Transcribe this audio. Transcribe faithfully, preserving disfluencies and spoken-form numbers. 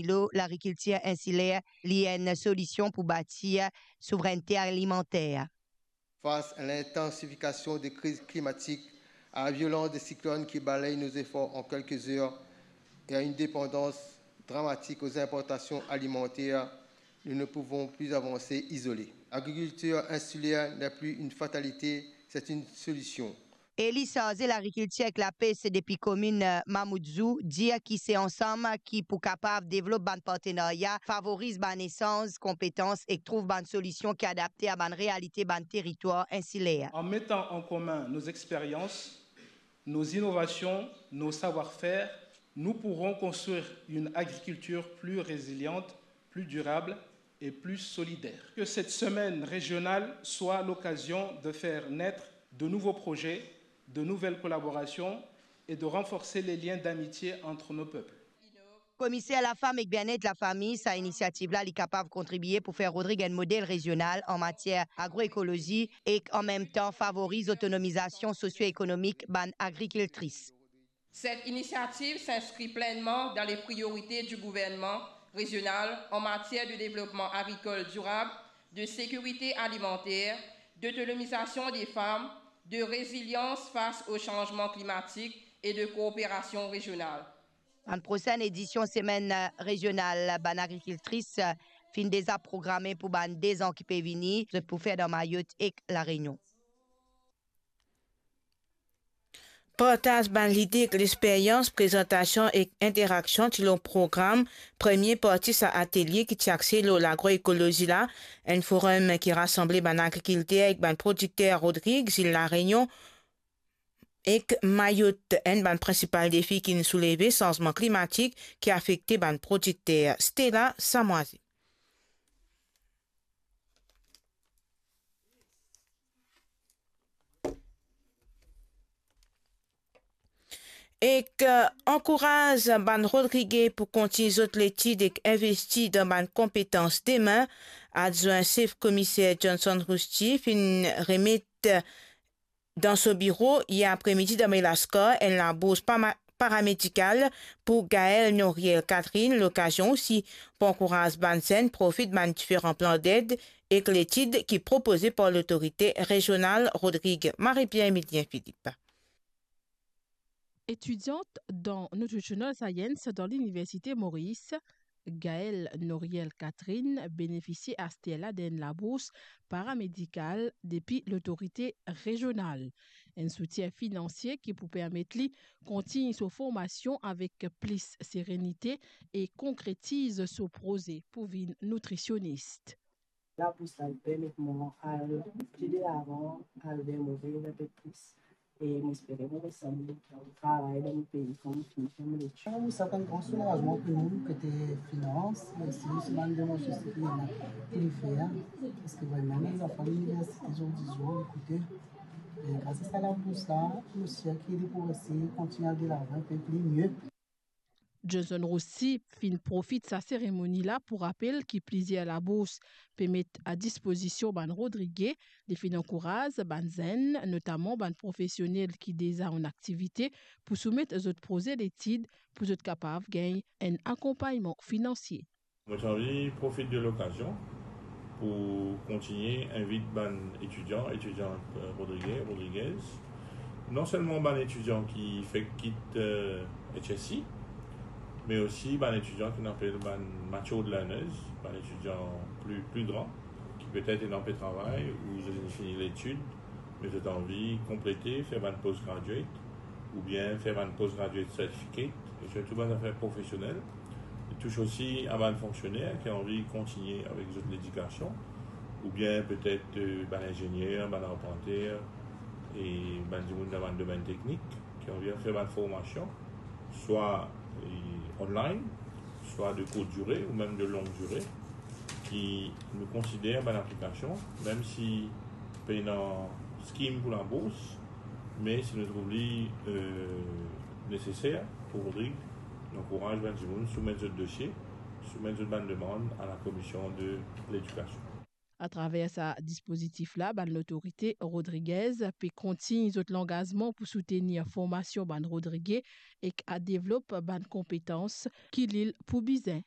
lor lagrikiltir insiler, li enn solision pou batir souvrennte alimanter. Face à l'intensification des crises climatiques, à la violence des cyclones qui balayent nos efforts en quelques heures et à une dépendance dramatique aux importations alimentaires, nous ne pouvons plus avancer isolés. L'agriculture insulaire n'est plus une fatalité, c'est une solution. Eli sarze lagrikiltir ek lapes depi komin, eh, Mamoudzou, dir ki se ansam ki pou kapav devlop bann partenarya, favoriz bann esanz konpetans ek trouv bann solision ki adapte a bann realite bann teritwar insiler. En mettant en commun nos expériences, nos innovations, nos savoir-faire, nous pourrons construire une agriculture plus résiliente, plus durable et plus solidaire. Que cette semaine régionale soit l'occasion de faire naître de nouveaux projets, de nouvelles collaborations et de renforcer les liens d'amitié entre nos peuples. Komiser Lafam ek Bienet Lafami, sa inisiativ la, li kapav kontribie pou fer Rodrig enn model rezional an matier agroekolozi ek an mem tan favoriz otonomizasion sosio-ekonomik bann agrikiltris. Cette initiative s'inscrit pleinement dans les priorités du gouvernement régional en matière de développement agricole durable, de sécurité alimentaire, d'autonomisation des femmes, de résilience face au changement climatique et de coopération régionale. Bann prosenn edision Semenn, eh, Rezional Bann Agrikiltris, eh, finn deza programe pou bann de zan ki pe vini, zot pou fer dan Mayotte ek La Réunion. Partaz bann lide ek lexperyans, prezantasion ek interaksion ti lor program premie parti sa atelie ki ti axe lor lagroekolozi la, enn forum ki rasanble bann agrikilter ek bann prodikter Rodrig, zil La Réunion ek Mayotte. Enn bann prinsipal defi ki'nn souleve sanzman klimatik ki afekte bann prodikter. Stella Samoisie. Ek, eh, ankouraz bann Rodrige pou kontign zot letid ek investi dan bann konpetans demin, adwin sef komiser Johnson Rousti finn remet, eh, dan so biro yer apremidi dan Melaskar enn labours pama-, paramedikal pou Gaëlle Noriel Catherine, lokazion osi pou ankouraz bann zenn profit bann diferan plan ded ek letid ki propoze par lotorite rezional Rodrig. Marie-Pierre Emilien Philippe. Etidiant dan Nutritional Science dan Liniversite Moris, Gaëlle Noriel Catherine benefisie aster la d'enn labours paramedikal depi lotorite rezional. Enn soutien finansie ki pou permet li kontign so formasion avek plis serenite e konkretiz so proze pou vinn nitrisionis. Labours la, li permet mwa al pli delavan, al ver mo rev inpe plis. E mo espere mo resann travay dan mo pei kan mo fini fer mo letid. Sa enn gran soulazman pou nou kote finans, me osi so bann demars ki ena pou li fer, parski vreman bann zanfan liniversite zordi zour, ekoute, e gras a sa labours la, mo sir ki li pou resi kontign al delavan inpe pli mie. Johnson Rousti finn profit sa seremoni la pou rapel ki plizier labours pe met a dispozision bann Rodrige. Li finn ankouraz bann zenn, notaman bann profesionel ki deza an aktivite, pou soumet zot proze letid pou zot kapav gagn enn akonpagnman finansie. Mo ti anvi profit de lokazion pou kontigne invit bann etidian, etidiant, eh, Rodrige, Rodriguez. Non selman bann etidian ki fek kit, eh, H S C, me osi bann etidian ki nou apel bann matured learners, bann etidian pli, pli gran, ki petet ena pe travay ou zot inn fini letid, me zot anvi konplete, fer bann postgraduate, oubien fer bann postgraduate certificate, e sirtou bann zafer profesionel. Li tous osi a bann fonksioner ki anvi kontigne avek zot ledikasion, oubien petet, eh, bann inzenier, bann arpanter, e bann dimoun dan bann domenn teknik ki anvi fer bann formasion, swa, eh, online, swa de courte durée ou mem de longue durée, ki nou konsider bann aplikasion, mem si pena scheme pou labours, me si nou trouv li, eh, neseser pou Rodrig, nou ankouraz bann dimoun soumet zot dosie, soumet zot bann demann a la Commission de l'Éducation. Atraver sa dispozitif la, bann lotorite rodrigez pe kontign zot langazman pou soutenir formasion bann Rodrige ek a devlop bann konpetans ki lil pou bizin.